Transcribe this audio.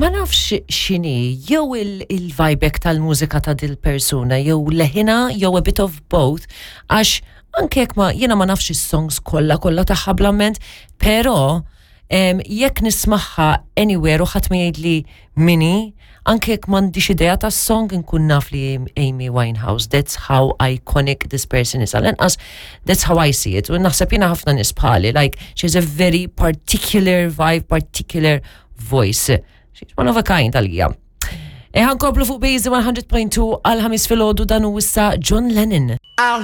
Ma nafx x'inhi, jew il-vibe tal-mużika ta' dil-persuna, jew leħinha, jew a bit of both, għax anke jekk ma jiena ma nafx is-songs kollha kollha tagħha bl-amment, però jekk nismagħha anywhere u ħadd ma jgħidli min hi, anke jekk m'għandix idea tas-song nkun naf li Amy Winehouse. That's how iconic this person is. Għal-inqas, that's how I see it. U naħseb jiena ħafna nies bħali, like, she has a very particular vibe, particular voice. She's one of a kind għalija. E ħa nkomplu fuq Base 100.2 għal 5 filgħodu, dan hu issa John Lennon.